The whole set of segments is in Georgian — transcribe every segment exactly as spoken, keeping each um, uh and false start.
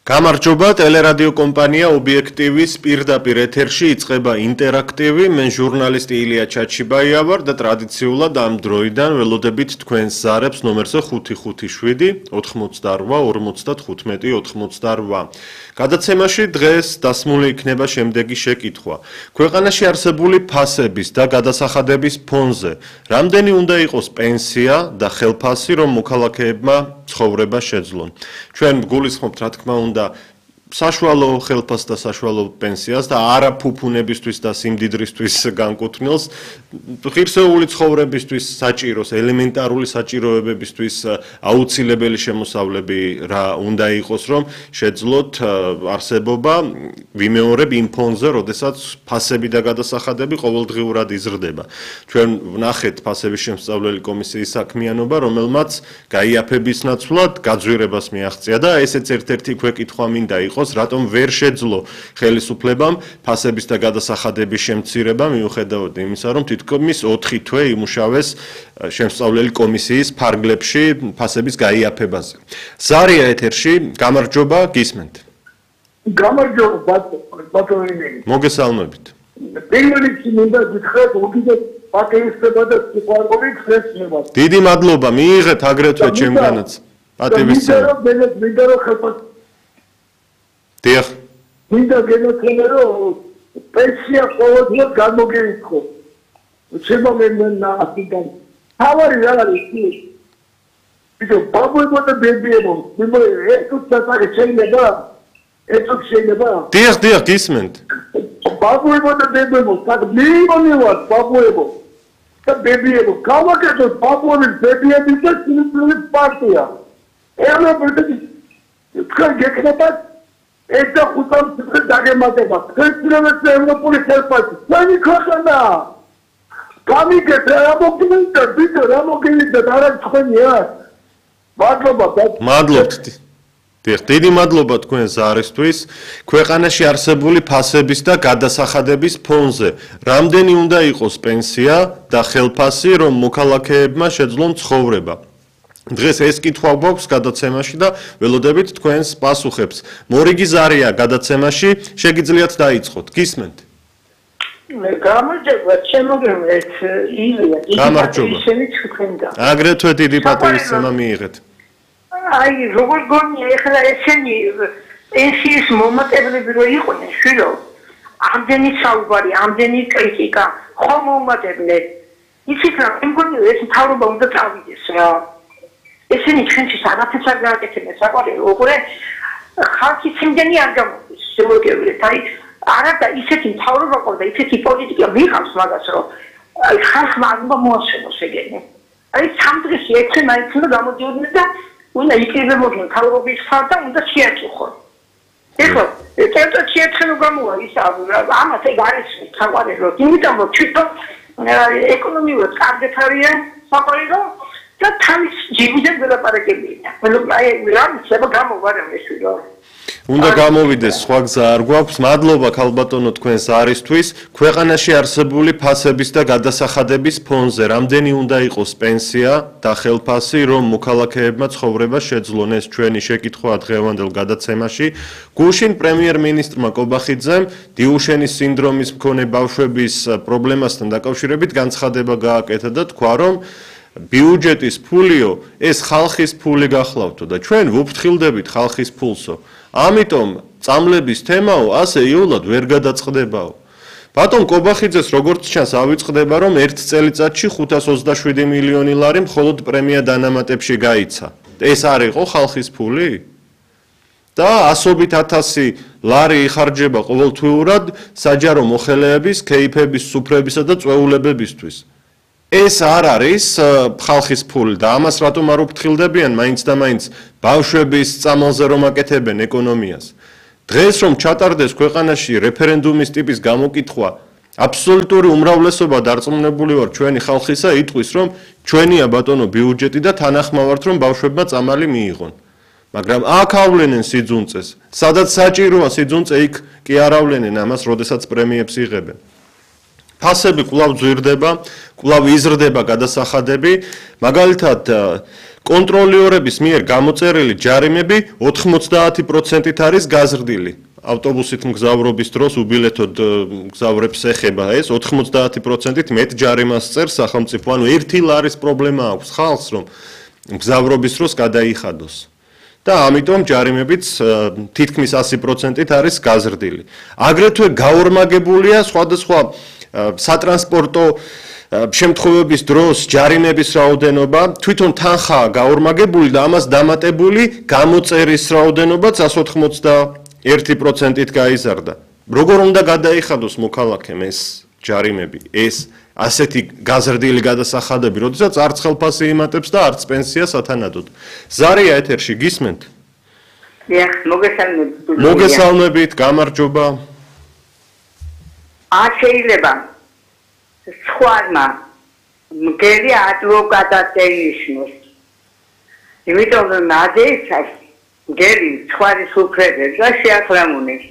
გამარჯობა, ტელერადიო კომპანია ობიექტივის პირდაპირ ეთერში იწყება ინტერაქტივი. მე ჟურნალისტი ილია ჩაჩიბაია ვარ და ტრადიციულად ამ დროიდან ველოდებით თქვენს ზარებს ნომერზე ხუთი ხუთი შვიდი ოთხმოცდარვა ორმოცდათხუთმეტი ოთხმოცდარვა. გადაცემაში დღეს დასმული იქნება შემდეგი შეკითხვა. ქვეყანაში არსებული ფასების და გადასახადების ფონზე რამდენი უნდა იყოს პენსია და ხელფასი, რომ მოქალაქეებმა ცხოვრება შეძლონ? ჩვენ გულისხმობთ, რა თქმა უნდა, საშუალო ხელფასს და საშუალო პენსიას და არა ფუფუნებისთვის და სიმდიდრისთვის განკუთვნილს, ღირსეული ცხოვრებისთვის საჭიროს, ელემენტარული საჭიროებებისთვის აუცილებელი შემოსავლები რა უნდა იყოს, რომ შეძლოთ არსებობა ვიმეორებ იმ ფონზე, როდესაც ფასები და გადასახადები ყოველდღიურად იზრდება. ჩვენ ვნახეთ ფასების შემსწავლელი კომისიის საქმიანობა, რომელმაც გაიაფების ნაცვლად გაძვირებას მიაღწია და ესეც ერთ-ერთი ქვეკითხვა მინდა იყოს, რატომ ვერ შეძლო ხელისუფლებამ ფასების და გადასახადების შემცირება, მიუხედავად იმისა, რომ თითქმის ოთხი თვე იმუშავეს შემსწავლელი კომისიის ფარგლებში ფასების გაიაფებაზე. ზარია ეთერში, გამარჯობა, გისმენთ. გამარჯობა, ბატონო. მოგესალმებით. პირველ რიგში მინდა გითხრათ, უდიდეს პატივისცემა და სიყვარული ხსნება. დიდი მადლობა, მიიღეთ აგრეთვე ჩემგანაც პატივისცემა. მინდა რომ ხელფასი დიახ. მინდა გენოქენე რომ პენსია ყოველდღიურად გამოგეიქო. შემომენა ასიდან. თავარი რა არის ის? ისო ბაბუებო და ბებიებო, მე ეს უცბად შეიძლება? ეს შეიძლება? დიახ, დიახ, გისმენთ. ბაბუებო და ბებიებო, საკ მილიონივარ ბაბუებო და ბებიებო, გავაკეთოთ ბაბუების ბებიების და სიმსივნის პარტია. ეხლა პრეტენზი თქვენ გეკნებათ ეს და ხუთამ წუთი დაგემატება. ხელშეკრულების ევროპული ხელფასი. ჩვენი ქვეყანა. გამიგეთ რა მოგინდა, ვიდეო რა მოგინდა, არა თქვენია. მადლობა. მადლობთ. დიახ, დიდი მადლობა თქვენ ზარისთვის. ქვეყანაში არსებული ფასების და გადასახადების ფონზე რამდენი უნდა იყოს პენსია და ხელფასი, რომ მოქალაქეებმა შეძლონ ცხოვრება? დღეს ეს კითხვა გვაქვს გადაცემაში და ველოდებით თქვენს პასუხებს. მორიგი ზარია გადაცემაში, შეგიძლიათ დაიწყოთ. გისმენთ. გამარჯობა, შემოგევლეთ ილია. გამარჯობა. აგრეთვე დიდი პატივისცემა მიიღეთ. აი, როგორ გონია ეხლა ესენი პენსიის მომატებლები რო იყვნენ, შვილო, ამდენი საუბარი, ამდენი კრიტიკა, ხომ მომატებდნენ. იცით რა, მე მგონი ეს მთავრობა უნდა წავიდეს რა. ესენი ჩვენთვის არაფერს არ გააკეთებენ, საყვარელი, უყურე ხალხის იმდენი არ გამოდის, შემოგევლეთ, აი, არა და ისეთი მთავრობა ყავდა, ისეთი პოლიტიკა მიღავს მაგას, რომ აი ხალხმა არ მოასწროს ეგენი. აი, სამ დღეში ექვსი მაინც უნდა გამოდიოდნენ და უნდა იკრიბებოდნენ მთავრობის ხარ და უნდა შეაწუხონ. ეხლა, ერთად შეეთხნო გამოვა ის ამას ეგ არის საყვარელი, იმიტომ რომ თვითონ ეკონომიურად კარგად არიან საყვარელი და თავის ჯიბიდან ველაპარაკებია. აი, რა შეიძლება გამოვა რა მესვიო. უნდა გამოვიდეს, სხვა გზა არ გვაქვს. მადლობა ქალბატონო თქვენს არისთვის. ქვეყანაში არსებული ფასების და გადასახადების ფონზე რამდენი უნდა იყოს პენსია და ხელფასი, რომ მოქალაქეებმა ცხოვრება შეძლონ? ეს ჩვენი შეკითხვაა დღევანდელ გადაცემაში. გუშინ პრემიერ-მინისტრმა კობახიძემ დიუშენის სინდრომის მქონე ბავშვების პრობლემასთან დაკავშირებით განცხადება გააკეთა და თქვა, რომ ბიუჯეტის ფულიო ეს ხალხის ფული გახლავთო და ჩვენ ვუფრთხილდებით ხალხის ფულსო. ამიტომ წამლების თემაო ასე იულად ვერ გადაწყდებაო. ბატონ კობახიძეს როგორც ჩანს ავიწყდება, რომ ერთ წელიწადში ხუთას ოცდაშვიდი მილიონი ლარი მხოლოდ პრემია დანამატებში გაიცა. ეს არ იყო ხალხის ფული? და ასობით ათასი ლარი იხარჯება ყოველთვიურად საჯარო მოხელეების, კეიფების, სუფრებისა და წვეულებებისთვის. ეს არ არის ხალხის ფული და ამას რატომ არ უფრთხილდებიან მაინც და მაინც ბავშვების წამალზე რომ აკეთებენ ეკონომიას. დღეს რომ ჩატარდეს ქვეყანაში რეფერენდუმის ტიპის გამოკითხვა, აბსოლუტური უმრავლესობა დარწმუნებული ვარ ჩვენი ხალხისა იტყვის, რომ ჩვენია ბატონო ბიუჯეტი და თანახმავართ რომ ბავშვებმა წამალი მიიღონ. მაგრამ აქ ავლენენ სიძუნწეს, სადაც საჭიროა სიძუნწე, იქ კი არ ავლენენ ამას, როდესაც პრემიებს იღებენ. ფასები კვლავ ძვირდება, კვლავ იზრდება გადასახადები, მაგალითად კონტროლიორების მიერ გამოწერილი ჯარიმები ოთხმოცდაათი პროცენტით არის გაზრდილი. ავტობუსით მგზავრობის დროს უბილეთოდ მგზავრებს ეხება ეს ოთხმოცდაათი პროცენტით მეტ ჯარიმას წერს სახელმწიფო. ანუ ერთი ლარის პრობლემა აქვს ხალხს, რომ მგზავრობის დროს გადაიხადოს. და ამიტომ ჯარიმებიც თითქმის ასი პროცენტით არის გაზრდილი. აგრეთვე გაორმაგებულია სხვადასხვა სატრანსპორტო შემთხვევების დროს ჯარიმების რაოდენობა, თვითონ თანხაა გაორმაგებული და ამას დამატებული გამოწერის რაოდენობაც εκατს ოცდაერთი პროცენტით გაიზარდა. როგორ უნდა გადაიხადოს მოქალაქემ ეს ჯარიმები, ეს ასეთი გაზრდილი გადასახადები, როდესაც არც ხელფასი იმატებს და არც პენსია სათანადოდ. ზარია ეთერში გისმენთ? დიახ, მოგესალმებით. მოგესალმებით, გამარჯობა. არ შეიძლება სხვამა მგელი ადვოკატად დაინიშნოს. იმიტომ რომ ადეიცას მგელი სხვარის უფლებებს და შეახლამუნებს.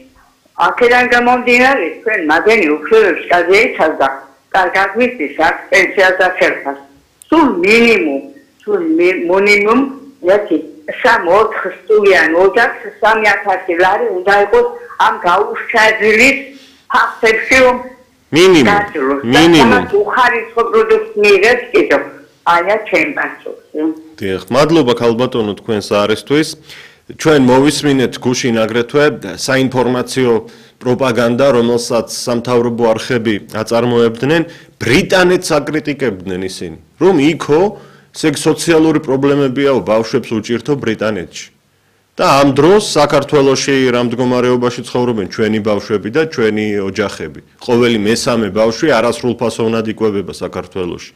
აქედან გამომდინარე, თქვენ მაგენი უფლებებს გადაიცავს და კარგად ვიცის აქ პენსიას და ხელფასს. სულ მინიმუმ, სულ მინიმუმ, ერთი სამოთხ სტუდიან ოჯახს სამი ათასი ლარი უნდა იყოს ამ გაუშვების ფაქტებში რომ მინიმუმ, მინიმუმ. უხარისხო პროდუქტს მიიღებს კიდო. აია ჩემპანსოს. დიახ, მადლობა ქალბატონო თქვენს არისთვის. ჩვენ მოვისმინეთ გუშინ აგრეთვე საინფორმაციო პროპაგანდა, რომელსაც სამთავრობო არხები აწარმოებდნენ, ბრიტანეთს აკრიტიკებდნენ ისინი, რომ იქო სოციალური პრობლემებია ბავშვებს უჭირთო ბრიტანეთში. და ამ დროს საქართველოში რა მდგომარეობაში ცხოვრობენ ჩვენი ბავშვები და ჩვენი ოჯახები. ყოველი მესამე ბავშვი არასრულფასოვნად იკვებება საქართველოში.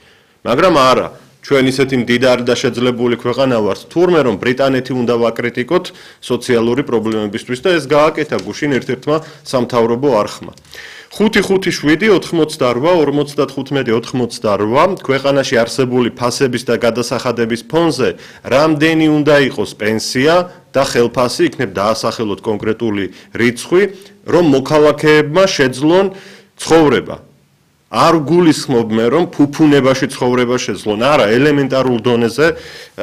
მაგრამ არა, ჩვენ ისეთი მდიდარი და შეძლებული ქვეყანა ვართ, თურმე რომ ბრიტანეთი უნდა ვაკრიტიკოთ სოციალური პრობლემებისთვის და ეს გააკეთა გუშინ ერთ-ერთმა სამთავრობო არხმა. ხუთი ხუთი შვიდი ოთხმოცდაორვა ორმოცდათხუთმეტი ოთხმოცდაორვა ქვეყანაში არსებული ფასების და გადასახადების ფონზე რამდენი უნდა იყოს პენსია და ხელფასი იქნებ დაასახელოთ კონკრეტული რიცხვი, რომ მოქალაქეებმა შეძლონ ცხოვრება. არ გულისხმობ მე რომ ფუფუნებაში ცხოვრება შეძლონ, არა, ელემენტარულ დონეზე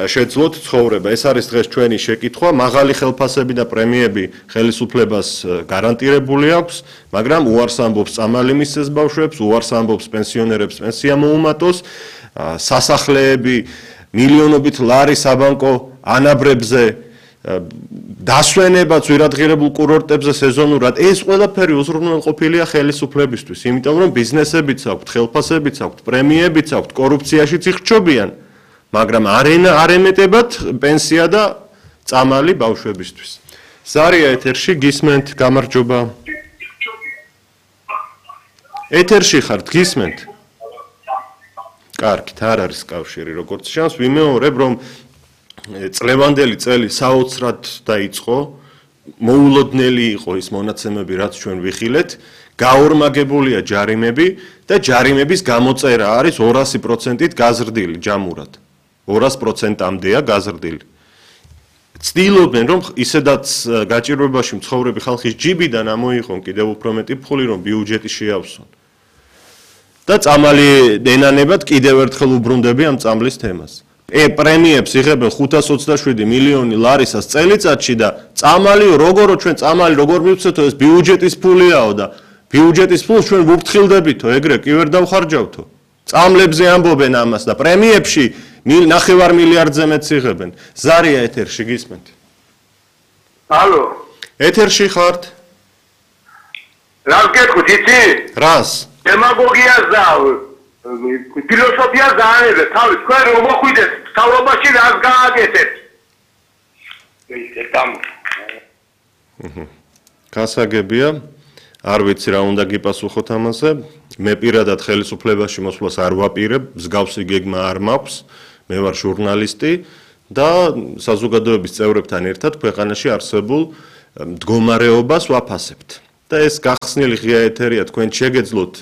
შეძლოთ ცხოვრება. ეს არის დღეს ჩვენი შეკითხვა, მაღალი ხელფასები და პრემიები ხელისუფლებას გარანტირებული აქვს, მაგრამ უარს ამბობს წამალი მისცეს ბავშვებს, უარს ამბობს პენსიონერებს პენსია მოუმატოს, სასახლეები მილიონობით ლარი საბანკო ანაბრებზე დასვენებაც ვირადღირებულ კურორტებზე სეზონურად ეს ყველაფერი უზრუნველყოფილია ხელისუფლებისთვის, იმიტომ რომ ბიზნესებიც აქვთ, ხელფასებიც აქვთ, პრემიებიც აქვთ, კორუფციაშიც იხჩობიან, მაგრამ არ ემეტებათ პენსია და წამალი ბავშვებისთვის. ზარია ეთერში გისმენთ, გამარჯობა. ეთერში ხართ, გისმენთ? კარგით, არ არის კავშირი, როგორც ჩანს, ვიმეორებ, რომ წლევანდელი წელი საოცრად დაიწყო, მოულოდნელი იყო ის მონაცემები, რაც ჩვენ ვიხილეთ, გაორმაგებულია ჯარიმები და ჯარიმების გამოწერა არის ორასი პროცენტით გაზრდილი ჯამურად. ორასი პროცენტამდეა გაზრდილი. ცდილობენ, რომ ისედაც გაჭირვებაში მცხოვრები ხალხის ჯიბიდან ამოიღონ კიდევ უფრო მეტი ფული, რომ ბიუჯეტი შეავსონ. და წამალი ენანებად კიდევ ერთხელ უბრუნდები ამ წამლის თემას. პრემიებს იღებენ ხუთას ოცდაშვიდი მილიონი ლარისას წელიწადში და წამალიო როგორო ჩვენ წამალი როგორ მივცეთო ეს ბიუჯეტის ფულიაო და ბიუჯეტის ფულს ჩვენ ვუფრთხილდებითო ეგრე კი ვერ დავხარჯავთო წამლებზე ამბობენ ამას და პრემიებში ნახევარ მილიარდზე მეც იღებენ. ზარია ეთერში გისმენთ? ალო, ეთერში ხართ? რა გეკითხოთ იცი? რას? დემაგოგიას და ფილოსოფიას დაანებეთ, თავი თქვენ რომ მოხვიდეთ სწავლობაში რას გააკეთებთ? ეს ამ გასაგებია, არ ვიცი რა უნდა გიპასუხოთ ამაზე. მე პირადად ხელისუფლებაში მოსვლას არ ვაპირებ, მსგავსი გეგმა არ მაქვს, მე ვარ ჟურნალისტი და საზოგადოების წევრებთან ერთად ქვეყანაში არსებულ მდგომარეობას ვაფასებთ. და ეს გახსნილი ღია ეთერია, თქვენ შეგეძლოთ